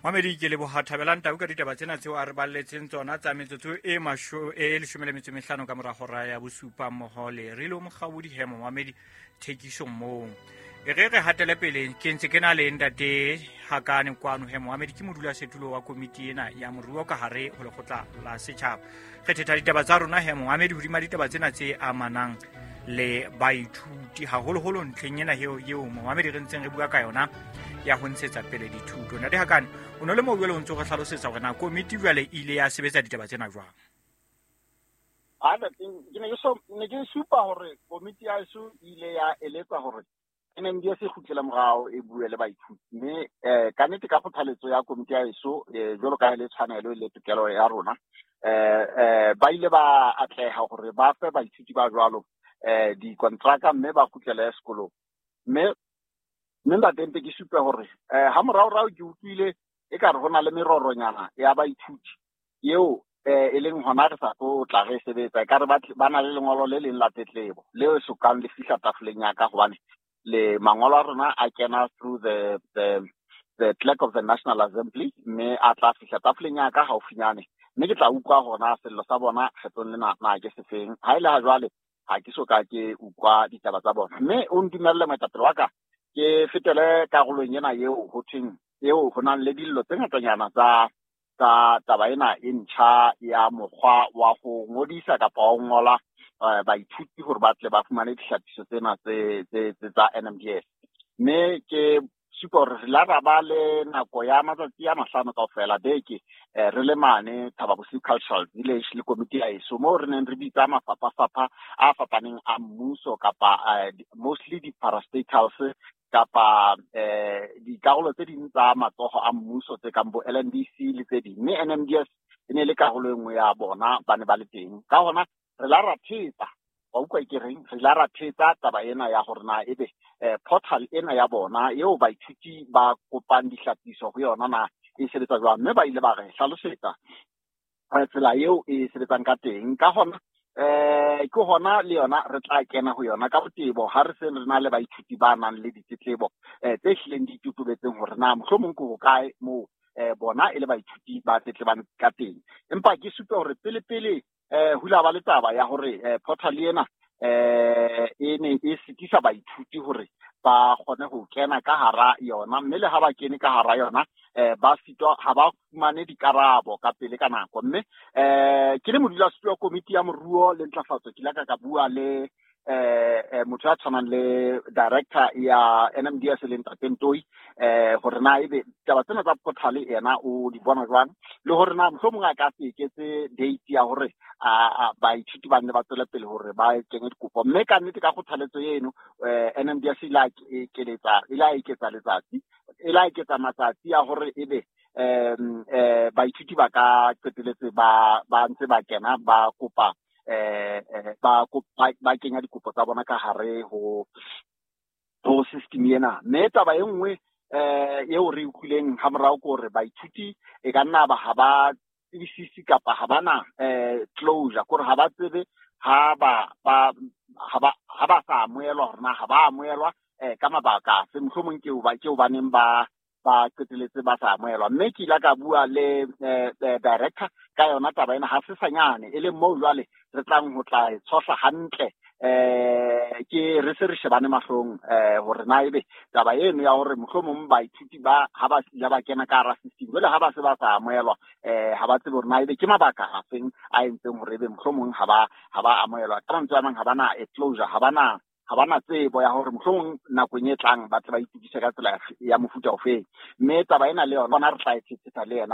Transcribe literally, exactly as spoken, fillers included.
Mamedi, ke leboha Thabelang Tau ka ditaba tsena tseo a re balletseng tsona tsa metsotso e masho e leshome le metso e mehlano ka mora hora ya bosupa, mmoho le Rilo Mokgaodi he momamedi thekisong moo. E re re hatele pele, ke ntse ke na le ntate Hakane kwano he momamedi, ke modulasetulo wa komiti ena ya moruo ka hare ho lekgotla la setjhaba. Re thetha ditaba tsa rona he momamedi hodima ditaba tsena tse amanang le baithuti, haholoholo ntlheng ena eo eo momamedi re ntseng re bua ka yona ya ho ntshetsa pele dithuto. Ntate Hakane, o no le moo jwale o ntso re hlalosetsa hore na komiti jwale e ile ya sebetsa ditaba tsena jwang? Ha ke ne ke so ne ke supa hore komiti ya heso e ile ya eletsa hore N M D S e kgutlele morao, e bue le baithuti, mme eh ka nnete ka kgothaletso ya komiti ya heso, eh, jwalo ka ha e le tshwanelo le tokelo ya rona, eh eh ba ile ba atleha hore ba fe baithuti ba jwalo eh dikontraka mme ba kgutlele sekolong. mme mme ntate, mpe ke supe hore eh ha moraorao ke utlwile ekare ho na le meroronyana ya baithuti eo eh e leng hona re sa tlo tla re sebetsa, ekare ba ba na le lengolo le leng la tletlebo leo sokang le fihla tafoleng ya ka, hobane le mangolo a rona a kena through the the the clerk of the National Assembly, mme a tla fihla tafoleng ya ka haufinyane, mme ke tla utlwa hona sello sa bona kgetlong lena na ke sefeng. Ha ile ha jwale ha ke so ka ke utlwa ditaba tsa bona, mme o ntumelle, moetapele wa ka, ke fetele karolong ena eo ho thweng eo ho nang le dillo tse ngatanyana tsa tsa taba ena e ntjha ya mokgwa wa ho ngodisa kapa wa ho ngola eh, baithuti hore ba tle ba fumane dihlapiso tsena tse tse tse tsa N M D S. Mme ke supa hore re la ra ba le nako ya matsatsi a mahlano kaofela beke, eh, re le mane Thaba Bosiu Cultural Village le komiti ya heso, moo re neng re bitsa mafapha-fapha a fapaneng a mmuso kapa eh, mostly di-parastatals kapa eh dikarolo tse ding tsa matsoho a mmuso tse kang bo L N D C le tse ding, mme N M D S e ne le karolo e nngwe ya bona, ba ne ba le teng. Ka hona re la ra thetsa, wa utlwa ke reng, re la ra thetsa taba ena ya hore na ebe eh, portal ena ya bona eo baithuti ba kopang dihlapiso ho yona na e sebetsa jwang, mme ba ile ba re hlalosetsa eh, tsela eo e sebetsang ka teng. Ka hona eh ke hona le yona re tla kena ho yona ka botebo ha re se re na le baithuti ba nang le ditletlebo eh, tse hlileng di totobetseng hore na mohlomong ke hokae moo eh, bona e le baithuti ba tletlebang ka teng. Empa ke supe hore pele pele eh ho ile ba le taba ya hore eh, portal ena eh e ne e sitisa baithuti hore ba kgone ho kena ka hara yona, mme le ha ba kene ka hara yona eh ba sitwa ha ba fumane dikarabo ka pele ka nako. Mme eh ke le modulasetulo wa komiti ya moruo le ntlafatso, ke ile ka ka bua le eh eh, motho ya tshwanang le director ya N M D S le ntate Ntoi, eh hore na ebe taba tsena tsa portal ena o di bona jwang, le hore na mohlomong a ka se eketse date ya hore a a baithuti ba nne ba tswele pele hore ba kenye dikopo. Mme ka nnete ka kgothaletso eno, eh N M D S ile a ekeletsa ile a eketsa letsatsi e la eketsa matsatsi a hore ebe um eh baithuti ba ka qeteletse ba ba ntse ba kena ba kopa eh eh, ba ba ba kenya dikopo tsa bona ka hare ho ho system ena. Mme taba e nngwe eh eo re utlwileng ha morao ke hore baithuti e ka nna ba ha ba tsebisisi kapa ha bana eh closure, kore ha ba tsebe ha ba ba ha ba ha ba sa amohelwa, hore na ha ba amohelwa eh ka mabaka afe, mohlomong ke ba ke hobaneng ba ba qeteletse ba sa amohelwa. Mme ke ile ka bua le eh, eh, director ka yona taba ena ha se sanyane, e leng moo jwale re tlang ho tla e tshohla hantle, eh ke re se re shebane mahlong, eh hore na ebe taba eno ya hore mohlomong baithuti ba ha ba ile ba kena ka hara system, jwale ha ba se ba sa amohelwa, eh ha ba tsebe hore na ebe ke mabaka afeng a entseng hore ebe mohlomong ha ba ha ba amohelwa. Ka mantswe a mang, ha ba na a closure, ha ba na ha ba na tsebo ya hore mohlomong nakong e tlang ba tle ba itukise ka tsela ya mofuta ofeng. Mme taba ena le yona re tla e thethetha le yena.